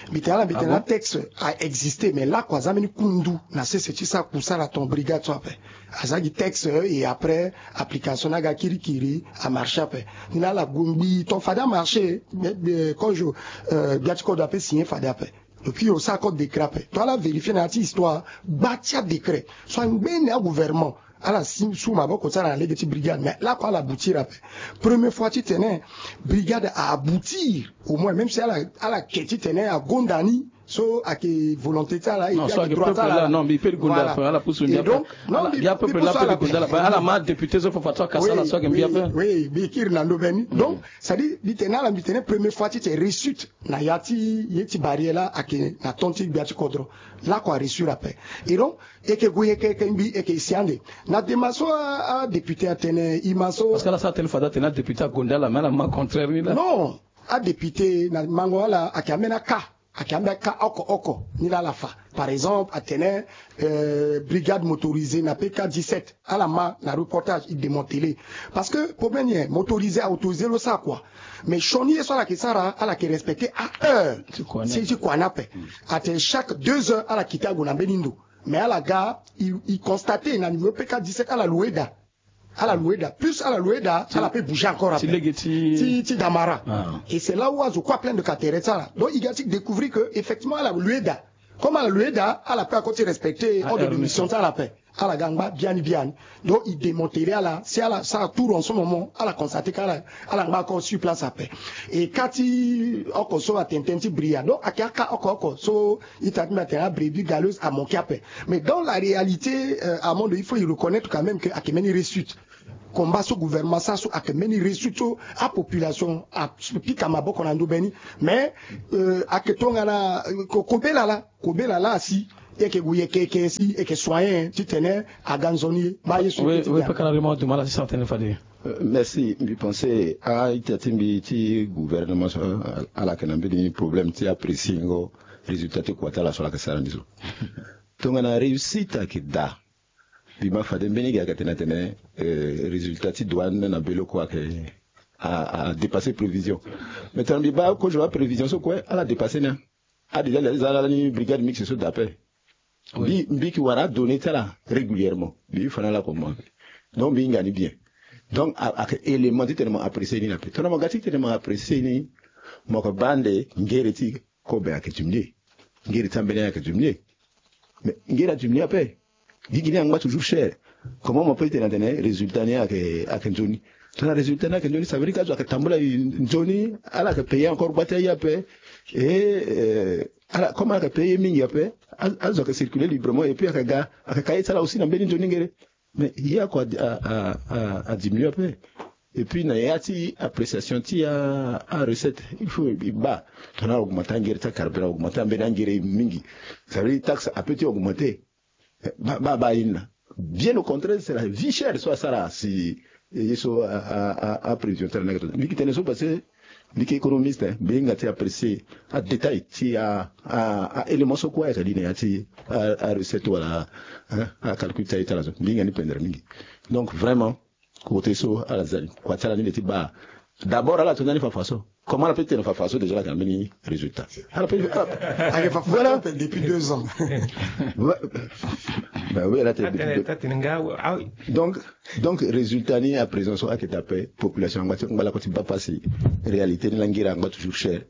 Mbi tene ala, mbi tene la texte a existé, mais lakue aza mbeni kundu na sese ti sara kusala ton brigade so ape. Aza gi texte, et après application ni aga kirikiri amarché ape. Ni laa ala gue ngbii ton fade amarché, mais, euh, kozo, euh, gbia ti kodro ape signé fade ape. Depuis osara code décret ape, to ala vérifier na ya ti histoire, gba ti adécret so angbene agouvernement ala si su maboko ti ala na lege ti brigade, mais lakue ala aboutir ape. Première fois titene brigade a aboutir, au moins, même si ala, ala ke titene agonda ni, so ayeke volonté ti ala, et puis ayeke droit ti ala. Non, mbi pe gonda ape, ala pusu mbi ape. Donc non, mbi, ya peuple la pe gonda ala, ala ma député so fa fa so akasa ala so ayeke mbi ape. Oui, mbi kiri na ndo mbeni. Donc c'est-à-dire mbi tene ala, mbi tene première fois ti ti réussite na ya ti ye ti barrière la ayeke na ton ti gbia ti kodro. Lakue a réussir ape. Et donc e yeke gue, e yeke, e yeke ngbii, e yeke si ande. Na dema so a, adéputé atene e ma so. Parce que ala sara tënë fade atene adéputé agonda ala, mais ala ma contraire ni laa. Non, adéputé na mango ala ayeke ambeni aka, ayeke ambeni aka oko oko ni laa ala fa. Par exemple atene, euh, brigade motorisée na P K dix-sept, ala ma na reportage, e démanteler. Parce que problème ni, motorisé, aautorisé lo sara kua. Mais sioni ye so ala yeke sara, ala yeke respecter aheure ti kua ni ape. Atene chaque deux heures ala quitté ague na mbeni ndo. Mais ala ga, e, e constater na niveau P K dix-sept ala louer daa. Ala lueda, plus ala lueda, ala pe bouger encore après. Ti lege ti ti ti damara. Ah. Et c'est là où azo kue aplaindre ka tere ti ala. Donc il ga ti découvrir que effectivement ala lueda. Comme ala lueda, ala pe ako ti respecter ordre de mission ti ala pe. Ala ga ngba biani biani. Donc il démanteler ala, si ala sara tour en ce moment, ala constater ka ala ala ngba encore sur place ape. Et ka ti oko so atene tënë ti bria, donc ayeke aka oko oko so ita ti mbi atene abrebi galeuse amanke ape. Mais dans la réalité, euh, Armando, il faut y reconnaître quand même que ayeke mbeni réussite. Combat so gouvernement asara so ayeke mbeni réussite so apopulation apika maboko na ndö be ni. Mais euh, ayeke tongana euh, ko- kobela laa, kobela laa asi, e yeke gue yeke yeke si e yeke soigner titene aga nzoni ye. Baa ye so. Oui, oui, pe kara rema duma ala ti sara tënë fade. Euh, merci. Mbi pense a-ita ti mbi ti gouvernement so, euh, ala yeke na mbeni problème ti apprécier ngo résultat ti kua ti ala so ala yeke sara ni so. Tongana réussite ayeke daa, mbi ma fade mbeni gi ayeke tene atene euh, résultat ti douane na bele oko ayeke a, a dépasser prévision. Mais tongana mbi baa kozo aprévision so kue ala dépasser ni. A déjà laa ti za lani brigade mixte so daa ape. Mbi mbi yeke wara adonnée ti ala régulièrement. Mbi fa na ala comment. Donc mbi hinga ni bien. Donc a, ayeke élément titene mo apprécier ni na ape. Tongana mo ga titene mo apprécier ni, mo yeke baa ande ngere ti kobe ayeke diminuer. Ngere ti ambeni ayeke diminuer. Mais ngere adiminuer ape. Gigi ni angba toujours cher. Comment mo peut tene atene résultat ni ayeke ayeke nzoni? Tongana résultat ni ayeke nzoni, ça veut dire que azo ayeke tambula nzoni, ala yeke payer encore gba ti aye ape. Et euh, ala comme ala yeke payer ye mingi ape, a- azo ayeke circuler librement et puis ayeke ga ayeke ka ye ti ala aussi na mbeni nzoni ngere. Mais ye oko a- a- a- a- adiminuer ape. Et puis na ya ti appréciation ti a, a recette, il faut e baa tongana a augmenter angere ti acarburant, augmenter ambeni angere mingi, ça veut dire taxe ape ti augmenter. Eh, baa baa baa ye ni laa. Bien au contraire, c'est la vie chère so asara si eh, ye so a, a, a, a prévision ti ala ni ayeke tonga. Mbi yeke tene so parce que mbi yeke économiste, hein, mbi hinga ti apprécier adétail ti a, a, a élément so kue ayeke li na ya ti a, a recette wala hein, acalcul ti aye ti ala so. Mbi hinga ni pendere mingi. Donc vraiment, côté so ala za ni, kua ti ala ni le ti baa. D'abord ala to ndani fafa so. Comment ala peut tene fafa so déjà ala yeke na mbeni résultat? Ala peut ala Ayeke fafa voilà. Depuis deux ans. Ouais. Ben oui, ala tene depuis deux. Donc donc résultat ni à présent so ayeke daa ape, population angba ti ngba lakue ti baa pasi. Réalité ni la ngira angba toujours cher.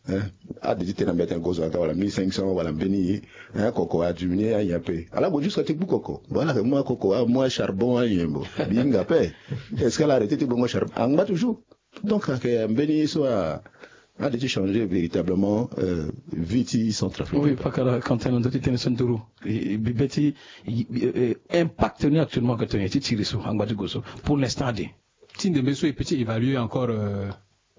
Hein? Ade ti tene na mbi atene gozo aga wala mille cinq cents wala mbeni hein, koko adiminuer anyen ape. Ala gue jusqu'à ti gbu koko. Bon ala yeke mu akoko amu acharbon anyen bo. Mbi hinga ape. Est-ce que ala arrêter ti bongo charbon? Angba toujours. Donc ayeke mbeni ye so a ade ti changer véritablement euh, vie ti Centrafrique. Oui, pakara Quentin na ndö ti tënë so nduru. E, e, bi be ti e, e, e, impact ni actuellement ayeke tongana nyen ti tiri so angba ti gue so pour l'instant ade? Ti ndembe so e peut ti évaluer encore euh,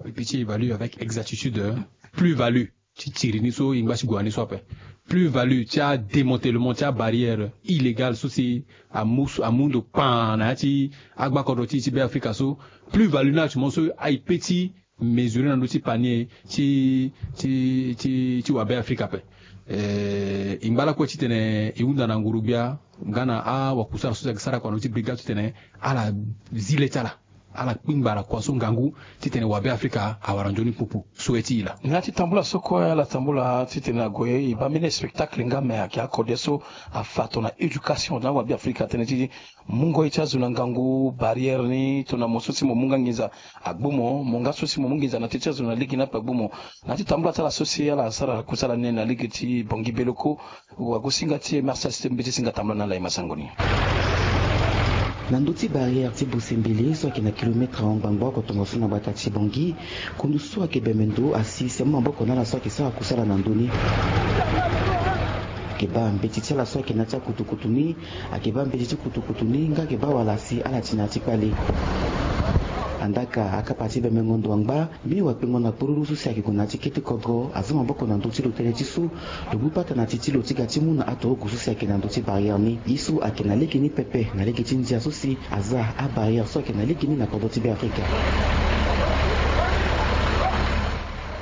e peut ti évaluer avec exactitude euh, plus value ti tiri ni so e ngba ti gue na ni so ape. Plus value ti adémantèlement ti abarrière illégale so si amu so amu ndo kpaa na ya ti agbakodro ti e ti Be Afrika so. Plus value ni actuellement so aye pe ti mesurer na ndö ti panier ti ti ti ti wabe Afrika ape. Eh, e ngba lakue titene e hunda na nguru-gbia nga na awakusala so si ayeke sara kua na ndö ti brigade titene ala zi le ti ala. Ala kpingba na kua so ngangu titene wabe Afrika awara nzoni pupu. Souhait ti e laa. Na ya ti tambula so kue ala tambula titene ague e baa mbeni spectacle nga me ayeke akode so afa tongana éducation na wabe Afrika tënë ti mungo ye ti azo na ngangu barrière ni tongana mo so si mo mu nga nginza agbu mo, mo nga so si mo mu nginza na teti azo na lege ni ape agbu mo. Na ya ti tambula ti ala so si ala sara kusala ni na lege ti Bangui Beloko. Wagosinga ti M R C S T mbeti singa tambula na ala e ma sango ni. Na ndö ti barrière ti Bosembele so ayeke na kilomètre ahon ngbangbo oko tongaso na gbata ti Bangui, kundu so ayeke bembe ndo asi si amu maboko na ala so ayeke sara kusala na ndö ni. Ayeke baa mbeti ti ala so ayeke na ya ti akutukutu ni. Ayeke baa mbeti ti kutukutu ni nga ayeke baa wala si ala ti na ya ti kpale. Andaka akapa ti bembengo ndo angba. Mbi wakpengo na kporuru so si ayeke gue na ya ti kete kodro aza maboko na ndö ti lo tënë ti so lo mu pata na ti ti lo ti ga ti mu na atogo so si ayeke na ndö ti barrière ni. Ye so ayeke na lege ni pepe na lege ti ndia so si aza abarrière so ayeke na lege ni na kodro ti Be Afrika.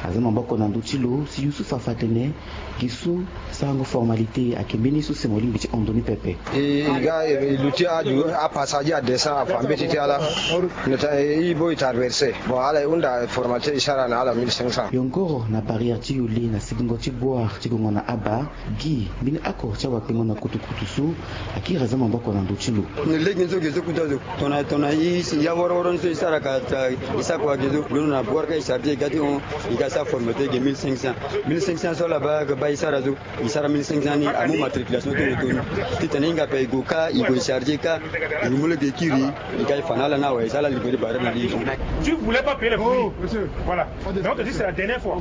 Aza maboko na ndö ti lo si Youssouf afa atene gi so sarango formalité ayeke mbeni so si mo lingbi ti hon ndö ni pepe. E ga e luti aju apasadi adescend afa mbeti ti ala. Nota e bo e traverse. Bon, ala e hunda formalité e sara na ala mille cinq cents. Yongoro na barrière ti Youli na sigingo ti Bouar ti gongo na Aba. Gi mbeni oko ti awakpengo na kutukutu so akiri aza maboko na ndö ti lo. Lege ni so ge so kuta zo tongana tongana i si ya woroworo ni so i sara ka ta i sara kua ge so londo na Bouar ka i charge e ga ti hon. I ga sara formalité ge mille cinq cents. Mille cinq cents so ala baa ga baa i sara zo. I sara mille cinq cents ni amu matriculation ti roto ni. Titene i hinga ape i gue ka i gue i charge ka. I mu lege kiri. I ga i fa na ala ni awe i sara ala livrer barrière na li. Tu voulais pas payer les prix. Voilà. Donc, tu dis, c'est la dernière fois.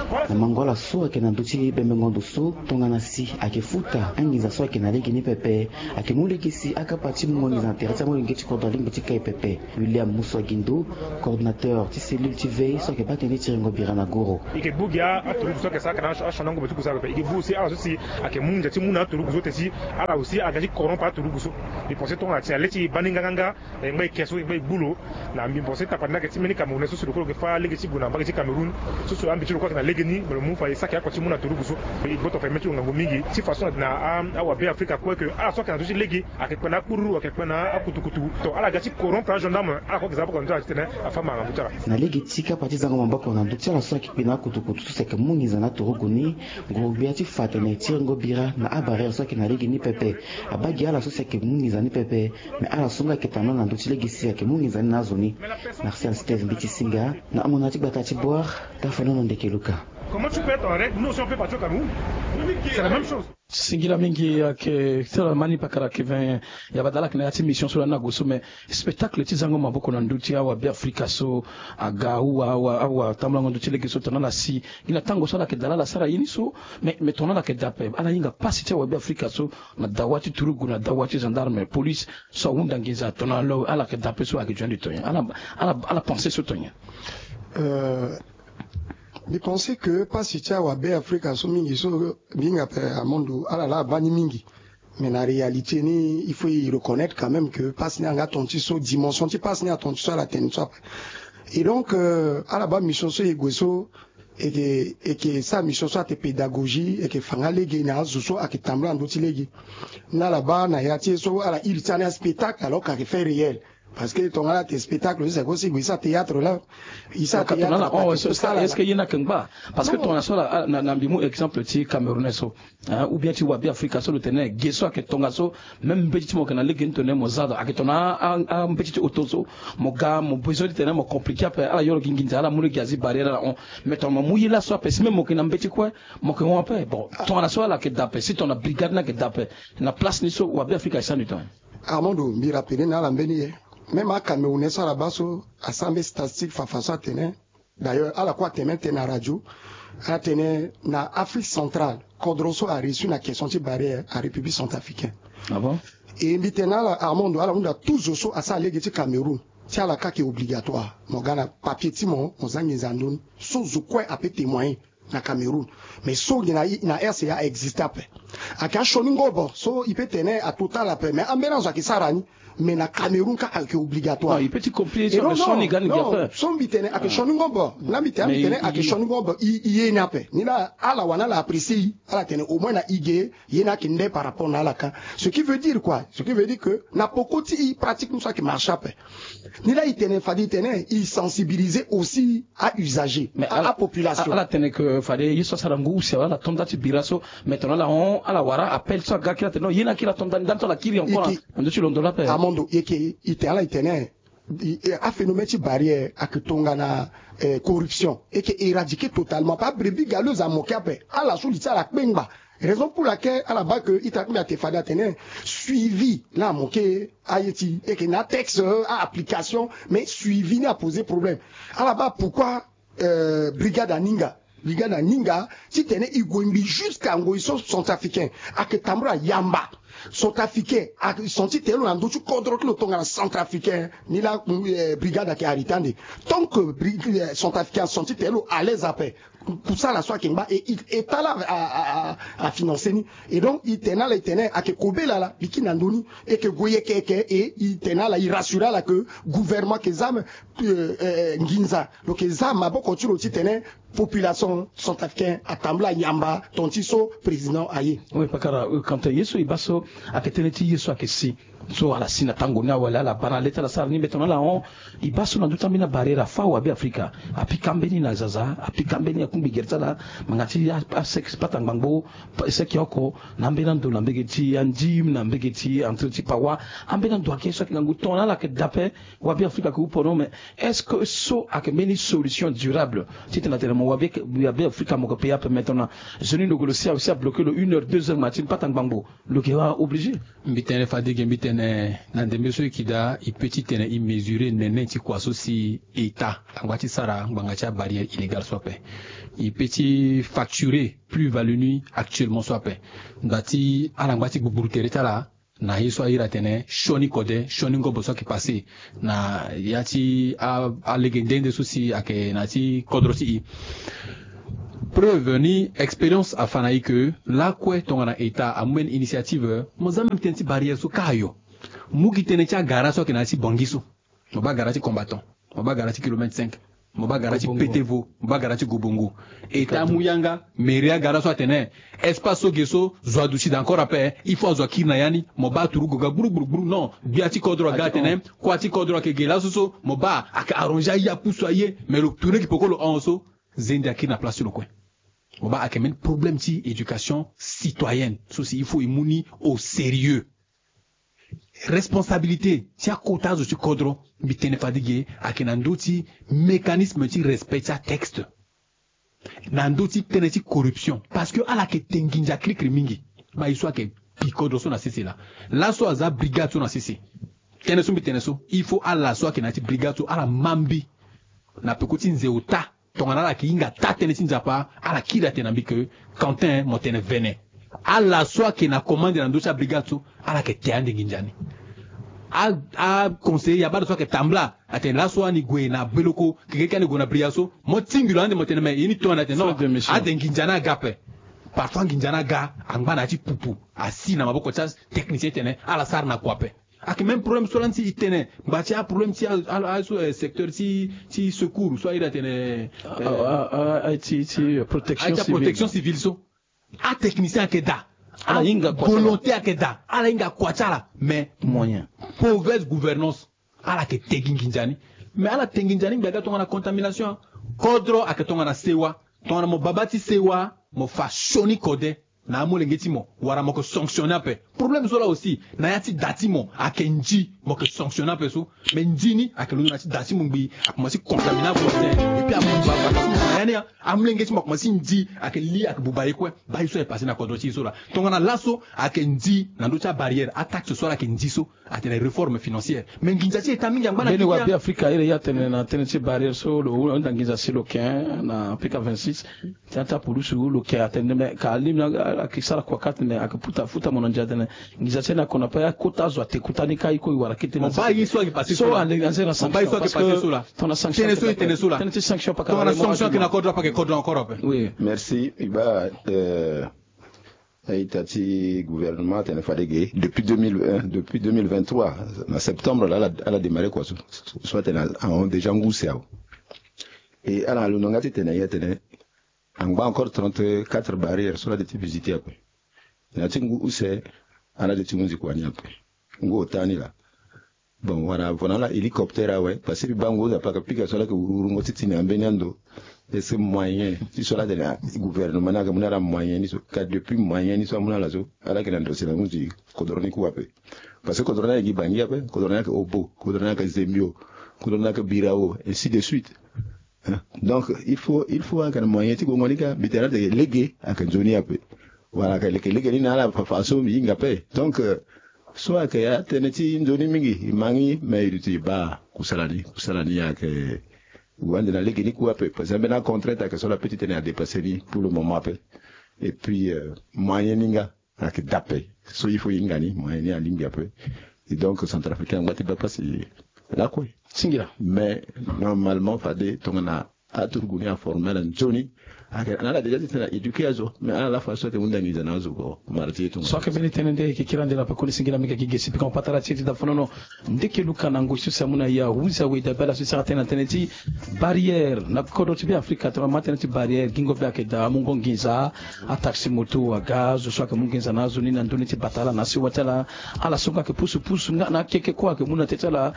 Voilà. Na mango ala so ayeke na ndö ti bembengo ndo so tongana si ayeke futa anginza so ayeke na lege ni pepe. Ayeke mu lege si akapa ti mungo nginza na tere ti amolenge ti kodro alingbi ti kai pepe. William Musuagindo, coordonnateur ti cellule ti veille so ayeke baa tënë ti rengo bira na goro. I yeke bu gi aturugu so ayeke sara kana asioni angobo ti kusa pepe. I yeke bu aussi ala so si ayeke mu nginza ti mu na aturugu so te si ala aussi aga ti corrompre aturugu so. I pense tongana si na le ti baa ni nganganga. E ngba e ke so e ngba e gbu lo na mbi. Bon, si tapande ni ayeke ti mbeni Camerounais so si lo kue lo yeke fâ lege ti gue na mbage ti Cameroun. So si ambi ti lo kue ayeke na legeni me lo mu fa e saki oko ti mu na turugu so. E gboto fa e mê ti lo ngangu mingi ti façon na awabe Afrika kue ke ala so ayeke na ndö ti lege ayeke kpe na akpururu ayeke kpe na akutukutu. To ala ga ti corrompre agendarme ala kue ayeke za boko na ndö ti ala titene afâ ma ngangu ti ala. Na lege ti kapa ti zango maboko na ndö ti ala so ayeke kpe na akutukutu so si ayeke mu nginza na aturugu ni. Nguru-gbia ti fa atene ti rengo bira na abarrière so ayeke na lege ni pepe. Abaa gi ala so si ayeke mu nginza ni pepe. Mais ala so nga ayeke tambula na ndö ti lege si ayeke mu nginza ni na azo ni. Martial Steve Mbeti Singa na amona ti gbata ti Bouar. Tafanono ndeke Luka. Comment tu peux être en règle? Nous aussi on peut partir au Cameroun. C'est la même chose. Singila mingi ayeke sara mani pakara keven. Ya badala ayeke na ya ti mission so lani ague so mais spectacle ti zango maboko na ndö ti awabe Afrika so aga awa awa awa tambulango ndö ti lege so tongana ala si. Gi na tango so ala yeke dala ala sara ye ni so. Mais mais tongana ala yeke dape ala hinga pasi ti awabe Afrika so. Na dawa ti turugu na dawa ti gendarme police so ahunda nginza tongana lo ala yeke dape so ayeke jua nde to nyen ala ala ala pense so to nyen. Euh, mbi pense que pasi ti awabe Afrika so mingi so mbi hinga ape amondo ala laa abaa ni mingi. Mais na réalité ni il faut e reconnaître quand même que pasi ni anga tonga ti so dimension ti pasi ni atonga ti so ala tene so ape. Et donc euh, ala baa mission so e gue so e ke e ke sara mission so ate pédagogie e ke fa nga lege na azo so ayeke tambula na ndö ti lege. Ni ala baa na ya ti e so ala iri ti ala ni aspectacle alors que ayeke fait réel. Parce que tongana ala te spectacle so si ako si gue e sara théâtre la. E sara théâtre. Est-ce que ye ni ayeke ngba? Parce que tongana so ala na mbi mu exemple ti Camerounais so. Hein, ou bien ti wabe Afrika so lo tene ge so ayeke tongaso. Même mbeti ti mo yeke na lege ni tene mo za do ayeke tongana ambeti ti auto so. Mo ga mo besoin ti tene mo compliqué ape ala yoro gi nginza ala mu lege azi barrière ala hon. Mais tongana mo mu ye laso ape si même mo yeke na mbeti kue mo yeke hon ape. Bon tongana so ala yeke daa ape si tongana brigade ni ayeke daa ape na place ni so wabe Afrika ayeke sara ni tongana. Armando mbi rappeler na ala mbeni ye. Même acamerounais so ala baa so asara mbeni statistique fafa so atene. D'ailleurs ala kue atene tënë na radio. Atene na Afrique centrale kodro so areussi na question ti barrière a République centrafricaine. Ah bon? E mbi tene na ala Armando ala hunda tout zo so asara lege ti Cameroun. Ti ala kâ ayeke obligatoire mo ga na papier ti mo mo za nginza na ndö ni. So zo kue ape témoigner na Cameroun. Mais so gi na R C A existe ape. Ayeke asioni ngobo so e peut tene atotal ape mais ambeni azo ayeke sara ni. Mais na Cameroun kâ ayeke obligatoire. Non, il peut ti compliquer so mais sioni ga ni gi ape. So mbi tene ayeke sioni ngobo. Nga mbi tene mbi tene ayeke sioni ngobo. I ye ni ape ni laa ala wani ala apprécier i. Ala tene au moins na i ge ye ni ayeke nde par rapport na ala kâ. Ce qui veut dire quoi? Ce qui veut dire que na peko ti i pratique ni so ayeke marché ape. Ni laa i tene fade i tene i sensibiliser aussi a usager mais a population. Ala tene ke fade ye so asara ngu si ala to nda ti bira so. Mais tongana ala hon ala wara appel so aga kiri atene non ye ni akiri ato ndani ndani so ala kiri encore na ndö ti londo lape. Amondo yeke i tene ala i tene. Aphénomène ti barrière ayeke tongana corruption. Eke éradiquer totalement pa brebis galeuse amoke ape ala so li ti ala akpengba. Raison pour laquelle ala baa ke ita ti mbi ate fade atene suivi laa amoke. Aye ti eke na texte a application mais suivi ni apose problème. Ala baa pourquoi brigade aninga brigade aninga titene e gue mbi jusqu'à ngoi so centrafricain ayeke tambula yamba. Centrafricain asanti tene lo na ndö ti kodro ti lo tongana centrafricain. Ni laa brigade ayeke arrêté ande. Tant que centrafricain asanti tene lo à l'aise ape, kusala so ayeke ngba. E état laa afinancer ni. Et donc e tene ala e tene ayeke kobela ala biki na ndö ni. E yeke gue yeke yeke. Et e tene ala e rassurer ala que gouvernement ayeke za nginza. Lo yeke za maboko ti lo titene population centrafricaine atambula yamba tonga ti so président aye. Oui, pakara, euh, Quentin, ye so e baa so ayeke tënë ti ye so ayeke si, so ala si na tango ni awe, ala baa na le ti ala sara ni mbeto na ala hon. E baa so na ndö ti ambeni abarrière afa awe, Beafrika apika mbeni na zaza, apika mbeni akungbi gere ti ala, ngbanga ti a, a seke pata ngbangbo, seke oko, na ambeni ando na mbege ti andim, na mbege ti entre ti pawa, ambeni ando ayeke ye so ayeke ngangu tongana ala yeke dape. Wa Beafrika ayeke houp non, mais est-ce que so ayeke mbeni solution durable? Titene atene mo wa Beafrika mo yeke payer ape maintenant. Zo ni lo gue lo si, si abloqué lo une heure, deux heures matin, pata ngbangbo, lo yeke wara obligé. Mbi tene fade ge, mbi tene na ndembe so e yeke daa, e peut titene e mesurer nene ti kua so si état angba ti sara ngbanga ti abarrière illégale so ape. E peut ti facturer plus-value ni actuellement so ape. Nda ti ala ngba ti gbugburu tere ti ala na ye so a iri atene sioni kode, sioni ngobo so ayeke passé na ya ti a, alege nde nde so si ayeke na ya ti kodro ti e. Preuve ni expérience afa na e que lakue tongana état amu mbeni initiative, mo za même tënë ti barrière so kâ ayo. Mu gi tënë ti agara so ayeke na ya ti Bangui so. Mo baa gara ti Combattant, mo baa gara ti Kilomètre cinq, mo baa gara ti Gobongo. Petevo, mo baa gara ti Gobongo. État amu yanga, mairie agara so atene espace so ge so zo aduti daa encore ape, il faut azo akiri na ya ni. Mo baa turu goga gburu gburu gburu. Non, gbia ti kodro aga atene kua ti kodro ayeke ge laso so. Mo baa ayeke arranger aye, apusu aye. Mais lo tourner gi peko lo hon so, zende akiri na place ti lo kue. Mo baa ayeke même problème ti éducation citoyenne so si il faut e mu ni au sérieux. Responsabilité ti akota azo ti kodro, mbi tene fade ge, ayeke na ndö ti mécanisme ti respect ti atexte, na ndö ti tënë ti corruption, parce que ala yeke te nginza kirikiri mingi. Baa ye so ayeke bi kodro so na sese laa. Laso aza brigade so na sese. Tënë so mbi tene so, il faut ala so ayeke na ya ti brigade so ala ma mbi na peko ti nze ota. Tongana ala yeke hinga taa tënë ti Nzapa, ala kiri atene na mbi que Quentin, mo tene vene. Ala so ayeke na commande na ndö ti abrigade so, ala yeke te ande nginza ni. A, aconseiller ya baa lo so ayeke tambula atene laso ani gue na Beloko, kekereke ani gue na Bria so. Mo tingbi lo ande, mo tene mais ye ni tongana atene non, ade nginza ni aga ape. Parfois nginza ni aga, angba na ya ti pupu, asi na maboko ti atechnicien titene ala sara na kua ape. Ayeke même problème so lani si e tene ngba ti aproblème ti a, a, a so, eh, secteur ti, ti secours so a iri atene, eh, a, a, a, ti, ti, eh, protection, a ti civile. Protection civile so. Atechnicien ayeke daa. Ala hinga kua ti ala. Avolonté ayeke daa. Ala hinga kua ti ala. Mais moyen, mauvaise gouvernance. Ala yeke te gi nginza ni. Mais ala te nginza ni ngbe aga tongana contamination. Kodro ayeke tongana sewa. Tongana mo baba ti sewa, mo fa sioni kode na amolenge ti mo, wala mo yeke sanctionner ape. Problème so laa aussi, na ya ti da ti mo ayeke ndi, mo yeke sanctionner ape so. Mais ndi ni ayeke londo na ya ti da ti mo ngbii, akomanse contaminer ape. Et puis abuba bata so mo na ya ni, amolenge ti mo akomanse ndi, ayeke li, ayeke buba ye kue. Baa ye so ayeke passé na kodro ti e so laa. Tongana laso ayeke ndi na ndö ti abarrière, ataxe so ala yeke ndi so, atene réforme financière. Mais nginza ti état mingi angba na Guinée. Mbeni wa Beafrika a iri ye atene na tënë ti barrière so lo hunda nginza si lo yeke na P K vingt-six. Ti ata pulusu lo yeke atene, mais ka alingbi na ayeke sara kua kâ atene ayeke puta futa mo na ndia atene nginza ti ani ako na pe akota azo ate kota ni kâ, e ko e wara kete na. Mo baa ye so ayeke passé so laa. Anze na sanction. Mo baa ye so ayeke passé so laa. Tongana sanction, tënë so e tene so laa. Tënë ti sanction pakara. Tongana sanction ayeke na kodro ape, ayeke kodro encore ape. Oui. Merci. E baa, euh, a-ita ti gouvernement atene fade ge depuis deux mille vingt, depuis deux mille vingt-trois, na septembre laa ala, ala démarrer kua so. So atene ahon déjà ngu use awe. E ala na londo nga titene e atene angba encore trente-quatre barrières so ala de ti visiter ape. Na ya ti ngu use ala de ti hunzi kua ni ape. Ngu ota ni laa. Bon, wala vo na ala hélicoptère awe, parce que mbi baa ngu use ape ayeke pika so ala yeke wurungo ti tene na mbeni ando. Est-ce que moyen ti so ala tene, ah, gouvernement ni ayeke mu na ala moyen ni so? Ka depuis moyen ni so amu na ala so, ala yeke na ndo si na hunzi kodro ni kue ape. Parce que kodro ni ayeke gi Bangui ape, kodro ni ayeke Obo, kodro ni ayeke Zembio, kodro ni ayeke Birao, ainsi de suite. Hein? Donc il faut, il faut ayeke na moyen ti gongo ni kâ. Mbi tene ala yeke lege ayeke nzoni ape. Wala ayeke leke lege ni na ala fa, fa so mbi hinga ape. Donc, euh, so ayeke atënë ti nzoni mingi, e ma ngi, mais e duti e baa kusala ni, kusala ni ayeke gue ande na lege ni kue ape. Parce que ambeni acontrainte ayeke so la pe ti tene adépasser ni pour le moment ape. Et puis, euh, moyen ni nga ayeke dape. So il faut hinga ni, moyen ni alingbi ape. Et donc centrafricain angba ti baa place lakue. Singila. Mais normalement fade tongana aturugu ni aforme ala nzoni. Ayeke na ala déjà ti tene a éduquer azo, mais ala la façon ayeke hunda nginza na azo ko mara ti e tonga. So ayeke mbeni tënë nde e yeke kiri ande na pekoni. Singila mingi ayeke gi ge si pika mo patara ti e ti da fonono. Ndeke luka na ngoi so si amu na e ahunzi awe, e dabe ala so e sara tënë na tënë ti barrière na kodro ti Beafrika. Tongana ma tënë ti barrière, gingo be ayeke daa amungo nginza. Ataxi moto aga azo so ayeke mu nginza na azo ni na ndö ni ti bata ala na asiwa ti ala. Ala so nga ayeke pusu pusu nga na akeke kue ayeke mu na teti ala.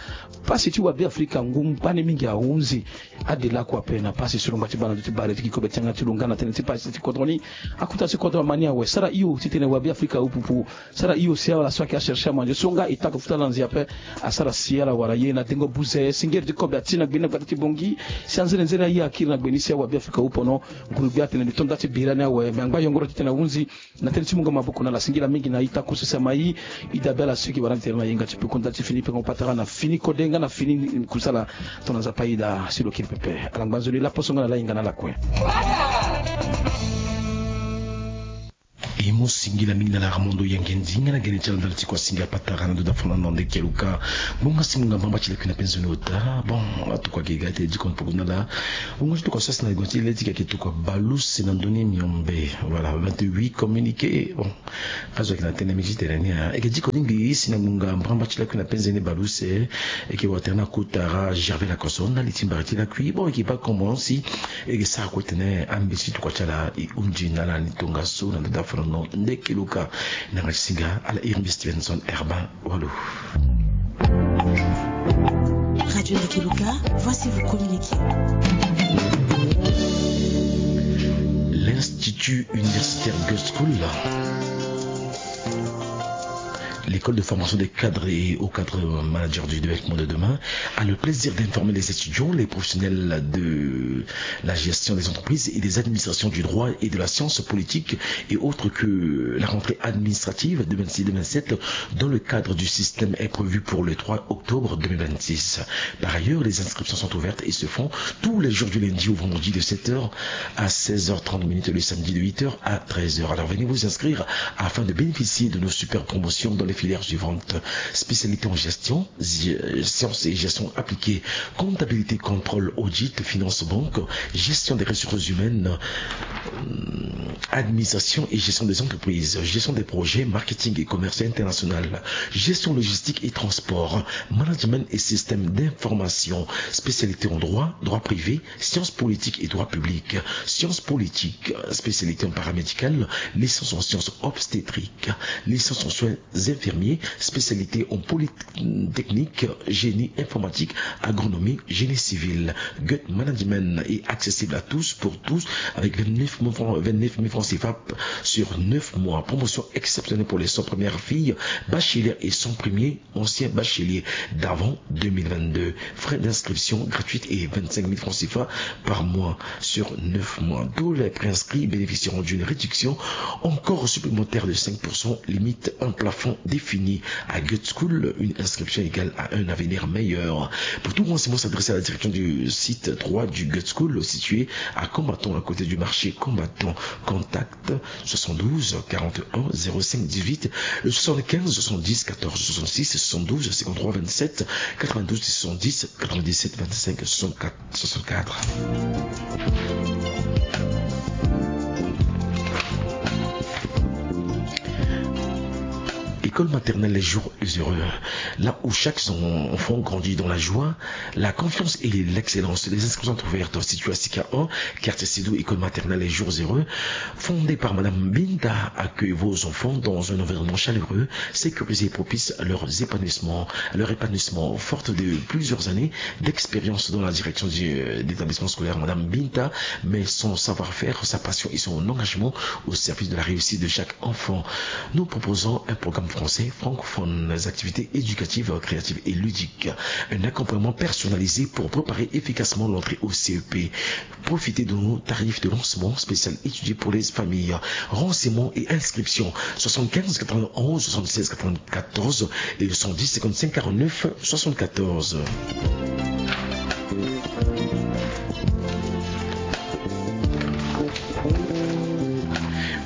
Pasi ti wabeafrika ngu mbani mingi ahunzi. Ade lakue ape na pasi so lo ngba ti baa na ndö ti barrière ti gi kobe ti yanga ti lo nga na tënë ti pasi ti kodro ni. Akota si kodro ama ni awe, sara hio titene wabeafrika ahupupu. Sara hio si ala so ayeke achercher amanze so nga e ta ko futa ala na nze ape. Asara si ala wara ye na dengo buze singeri ti kobe ati na gbe ni na gbata ti Bongi. Si anzenenzene aye akiri na gbe ni si awabeafrika ahupono. Nguru-gbia atene mbi to nda ti bira ni awe, me angba yongoro titene ahunzi. Na tënë ti mungo maboko na ala. Singila mingi na ita kusa si ama e. E dabe ala so e yeke wara ni tere na yenga ti peko nda ti fini peko patara na fini kode nga na fini kusala. Tongana Nzapa aye daa si lo kiri pepe. Ala ngba nzoni laposo nga na ala hinga na ala kue. E mu singila mingi na ala Armando Yangendi nga na gene ti ala ndali ti kua singa patara na ndo da fona na ndeke luka. Ngbonga si munga mbamba ti lakui na penze ni ota. Bon, atuka gega te dikon poko na ala. Ngbonga ti tuka sasi na ligo ti le ti keke tuka baluse na ndoni miombe. Voilà, vingt-huit communiqué. Bon, azo ayeke na tënë mingi ti tene ni, ah. E yeke diko ni ngbii si na ngbonga mbamba ti lakui na penze ni baluse. E yeke watere na kotara Gervais Lakoso na li ti mbari ti lakui. Bon, e yeke baa komo si e yeke sara kue tene ambeti ti tokua ti ala e hunzi na ala ni tongaso na ndö ti afolono ndeke luka. Na yanga ti singa ala iri mbi Stevenson Herbin. Walo. Radio Ndeke Luka, voici vos communiqués. L'Institut Universitaire Goethe School. L'école de formation des cadres et hauts cadres managers du développement de demain a le plaisir d'informer les étudiants, les professionnels de la gestion des entreprises et des administrations du droit et de la science politique et autres que la rentrée administrative deux mille vingt-six deux mille vingt-sept dans le cadre du système est prévue pour le trois octobre deux mille vingt-six. Par ailleurs, les inscriptions sont ouvertes et se font tous les jours du lundi au vendredi de sept heures à seize heures trente minutes et le samedi de huit heures à treize heures. Alors venez vous inscrire afin de bénéficier de nos super promotions dans les filières suivantes. Spécialité en gestion, zi-, euh, sciences et gestion appliquée, comptabilité, contrôle, audit, finance, banque, gestion des ressources humaines, euh, administration et gestion des entreprises, gestion des projets, marketing et commerce international, gestion logistique et transport, management et système d'information, spécialité en droit, droit privé, sciences politiques et droit public, sciences politiques, spécialité en paramédical, licence en sciences obstétriques, licence en soins infirmiers, spécialité en polytechnique, génie informatique, agronomie, génie civil. Goethe Management est accessible à tous, pour tous, avec vingt-neuf mille francs, vingt-neuf mille francs C F A sur neuf mois. Promotion exceptionnelle pour les cent premières filles, bachelier et cent premiers anciens bacheliers d'avant deux mille vingt-deux. Frais d'inscription gratuite et vingt-cinq mille francs C F A par mois sur neuf mois. Tous les préinscrits bénéficieront d'une réduction encore supplémentaire de cinq pour cent, limite un plafond défini. À Goethe School, une inscription égale à un avenir meilleur. Pour tout renseignement, s'adresser à la direction du site trois du Goethe School, situé à Combattant, à côté du marché Combattant. Contact soixante-douze quarante et un zéro cinq dix-huit, le soixante-quinze soixante-dix quatorze soixante-six, soixante-douze cinquante-trois vingt-sept quatre-vingt-douze soixante-dix quatre-vingt-dix-sept vingt-cinq soixante-quatre soixante-quatre. École maternelle Les Jours Heureux, là où chaque enfant grandit dans la joie, la confiance et l'excellence. Les inscriptions sont ouvertes. Située à Sika un, quartier Sédou, école maternelle Les Jours Heureux, fondée par Madame Binta, accueille vos enfants dans un environnement chaleureux, sécurisé et propice à leur épanouissement. À leur épanouissement. Forte de plusieurs années d'expérience dans la direction du, euh, d'établissement scolaire, Madame Binta met son savoir-faire, sa passion et son engagement au service de la réussite de chaque enfant. Nous proposons un programme français francophone, des activités éducatives, créatives et ludiques, un accompagnement personnalisé pour préparer efficacement l'entrée au C E P. Profitez de nos tarifs de lancement spécial étudiés pour les familles. Renseignements et inscriptions, soixante-quinze quatre-vingt-onze soixante-seize quatre-vingt-quatorze et cent dix cinquante-cinq quarante-neuf soixante-quatorze.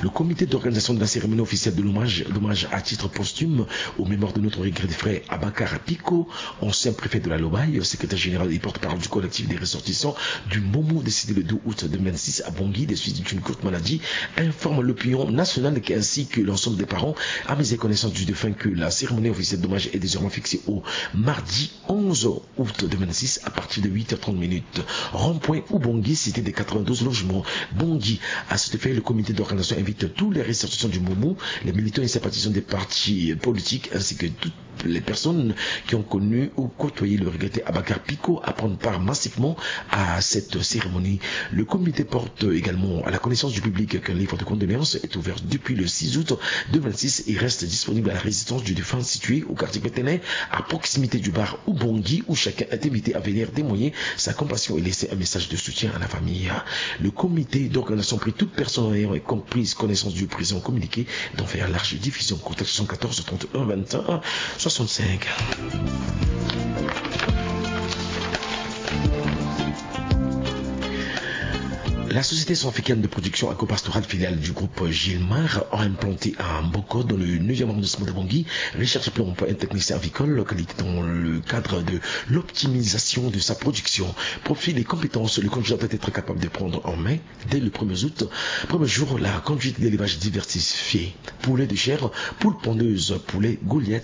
Le Comité d'organisation de la cérémonie officielle de l'hommage, d'hommage à titre posthume aux mémoires de notre regretté frère Abakar Piko, ancien préfet de la Lobaye, secrétaire général et porte-parole du collectif des ressortissants du Momo, décédé le deux août deux mille vingt-six à Bangui des suites d'une courte maladie, informe l'opinion nationale ainsi que l'ensemble des parents à mes connaissances du défunt que la cérémonie officielle d'hommage est désormais fixée au mardi onze août deux mille vingt-six à partir de huit heures trente minutes. Rond-point Oubangui, cité des quatre-vingt-douze logements, Bangui. À cet effet, le comité d'organisation invite tous les ressortissants du Momo, les militants et sympathisants des partis politiques ainsi que toutes les personnes qui ont connu ou côtoyé le regretté Abakar Piko à prendre part massivement à cette cérémonie. Le comité porte également à la connaissance du public qu'un livre de condoléances est ouvert depuis le six août deux mille vingt-six et reste disponible à la résidence du défunt située au quartier Pétene, à proximité du bar Oubangui, où chacun est invité à venir témoigner sa compassion et laisser un message de soutien à la famille. Le comité d'organisation prie toute personne ayant et comprise connaissance du présent communiqué d'en faire large diffusion. Contact soixante-quatorze trente et un vingt et un soixante-cinq. La société centrafricaine de production agro-pastorale, filiale du groupe Gilmar, a implanté à Mboko, dans le neuvième arrondissement de Bangui, recherche pour emploi un technicien avicole, qualité dans le cadre de l'optimisation de sa production. Profil et compétences, le candidat doit être capable de prendre en main, dès le premier août, premier jour, la conduite d'élevage diversifié. Poulet de chair, poule pondeuse, poulet Goliath,